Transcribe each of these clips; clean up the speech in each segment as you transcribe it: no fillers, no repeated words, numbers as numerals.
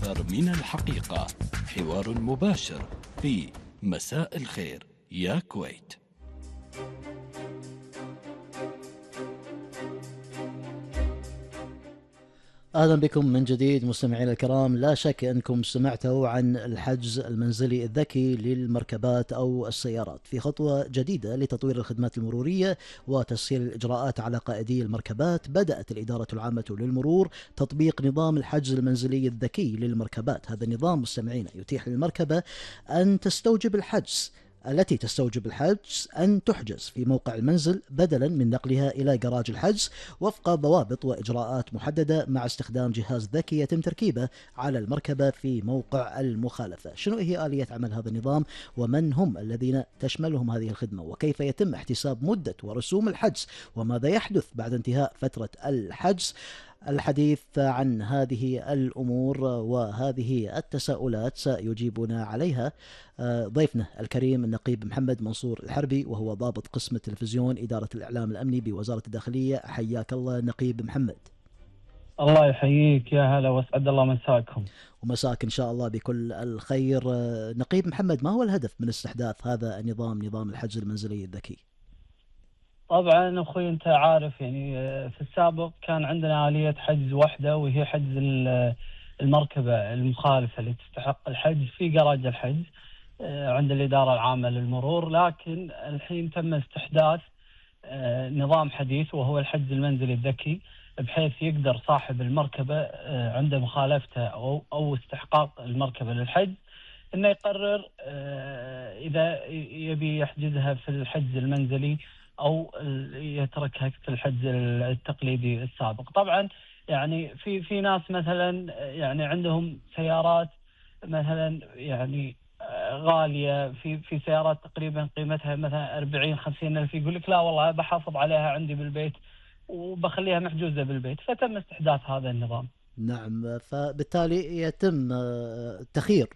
أكثر من الحقيقة، حوار مباشر في مساء الخير يا كويت. أهلا بكم من جديد مستمعينا الكرام. لا شك أنكم سمعتوا عن الحجز المنزلي الذكي للمركبات أو السيارات في خطوة جديدة لتطوير الخدمات المرورية وتسهيل الإجراءات على قائدي المركبات. بدأت الإدارة العامة للمرور تطبيق نظام الحجز المنزلي الذكي للمركبات. هذا النظام مستمعينا يتيح للمركبة أن تستوجب الحجز أن تحجز في موقع المنزل بدلا من نقلها إلى جراج الحجز وفق ضوابط وإجراءات محددة، مع استخدام جهاز ذكي يتم تركيبه على المركبة في موقع المخالفة. شنو هي آلية عمل هذا النظام، ومن هم الذين تشملهم هذه الخدمة، وكيف يتم احتساب مدة ورسوم الحجز، وماذا يحدث بعد انتهاء فترة الحجز؟ الحديث عن هذه الأمور وهذه التساؤلات سيجيبنا عليها ضيفنا الكريم النقيب محمد منصور الحربي، وهو ضابط قسم التلفزيون إدارة الإعلام الأمني بوزارة الداخلية. حياك الله نقيب محمد. الله يحييك، يا هلا واسعد الله مساكم. ومساك إن شاء الله بكل الخير. نقيب محمد، ما هو الهدف من استحداث هذا النظام، نظام الحجز المنزلي الذكي؟ طبعا أخوي أنت عارف يعني في السابق كان عندنا آلية حجز واحدة، وهي حجز المركبة المخالفة اللي تستحق الحجز في جراج الحجز عند الإدارة العامة للمرور. لكن الحين تم استحداث نظام حديث وهو الحجز المنزلي الذكي، بحيث يقدر صاحب المركبة عند مخالفته أو استحقاق المركبة للحجز إنه يقرر إذا يبي يحجزها في الحجز المنزلي أو يتركها في الحجز التقليدي السابق. طبعا يعني في ناس مثلا يعني عندهم سيارات مثلا يعني غالية، في سيارات تقريبا قيمتها مثلا 40-50 ألف، يقول لك لا والله بحافظ عليها عندي بالبيت وبخليها محجوزة بالبيت، فتم استحداث هذا النظام. نعم، فبالتالي يتم تخيير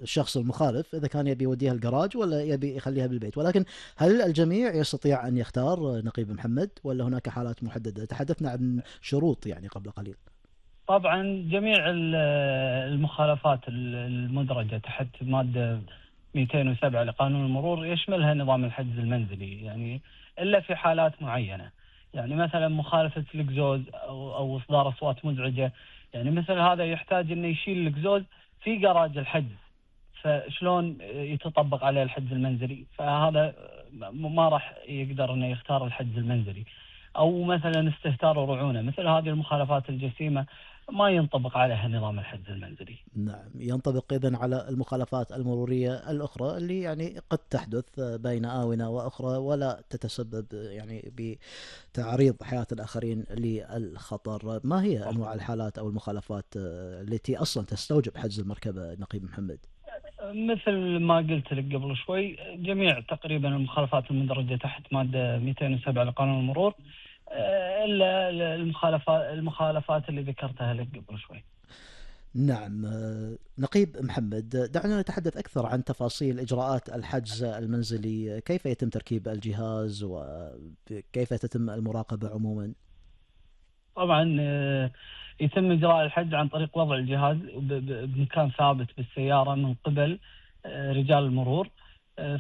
الشخص المخالف إذا كان يبي يوديها الجراج ولا يبي يخليها بالبيت. ولكن هل الجميع يستطيع أن يختار نقيب محمد، ولا هناك حالات محددة؟ تحدثنا عن شروط يعني قبل قليل. طبعا جميع المخالفات المدرجة تحت مادة 207 لقانون المرور يشملها نظام الحجز المنزلي، يعني إلا في حالات معينة، يعني مثلا مخالفة الإكزوز أو إصدار أصوات مزعجة، يعني مثل هذا يحتاج إنه يشيل الإكزوز في جراج الحجز، فشلون يتطبق عليه الحجز المنزلي؟ فهذا ما راح يقدر إنه يختار الحجز المنزلي. أو مثلا استهتار ورعونة، مثل هذه المخالفات الجسيمة ما ينطبق عليها نظام الحجز المنزلي. نعم، ينطبق إذن على المخالفات المرورية الأخرى اللي يعني قد تحدث بين آونة وأخرى ولا تتسبب يعني بتعريض حياة الآخرين للخطر. ما هي أنواع الحالات أو المخالفات التي أصلا تستوجب حجز المركبة نقيب محمد؟ مثل ما قلت لك قبل شوي، جميع تقريبا المخالفات المدرجة تحت مادة 207 لقانون المرور، إلا المخالفات اللي ذكرتها لك قبل شوي. نعم. نقيب محمد، دعنا نتحدث أكثر عن تفاصيل إجراءات الحجز المنزلي. كيف يتم تركيب الجهاز وكيف تتم المراقبة عموما؟ طبعا يتم إجراء الحجز عن طريق وضع الجهاز بمكان ثابت بالسيارة من قبل رجال المرور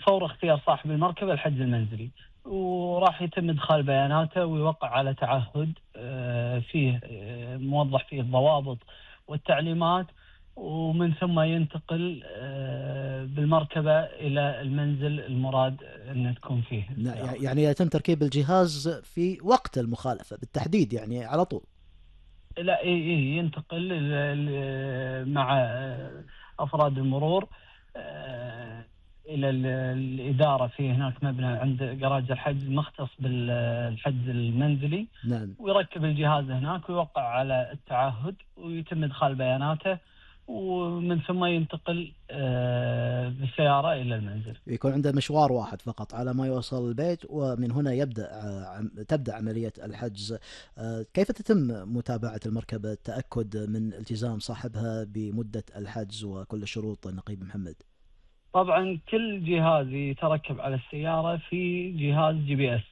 فور اختيار صاحب المركبة الحجز المنزلي، وراح يتم إدخال بياناته ويوقع على تعهد فيه موضح فيه الضوابط والتعليمات، ومن ثم ينتقل بالمركبة إلى المنزل المراد أن تكون فيه. يعني يتم تركيب الجهاز في وقت المخالفة بالتحديد، يعني على طول؟ لا، ينتقل مع أفراد المرور إلى الإدارة، في هناك مبنى عند جراج الحجز مختص بالحجز المنزلي. نعم. ويركب الجهاز هناك ويوقع على التعهد ويتم إدخال بياناته، ومن ثم ينتقل بالسيارة إلى المنزل. يكون عنده مشوار واحد فقط على ما يوصل البيت، ومن هنا تبدأ عملية الحجز. كيف تتم متابعة المركبة، التأكد من التزام صاحبها بمدة الحجز وكل الشروط نقيب محمد؟ طبعا كل جهاز يتركب على السيارة في جهاز GPS،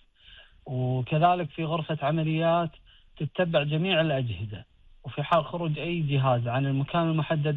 وكذلك في غرفة عمليات تتبع جميع الأجهزة، وفي حال خروج أي جهاز عن المكان المحدد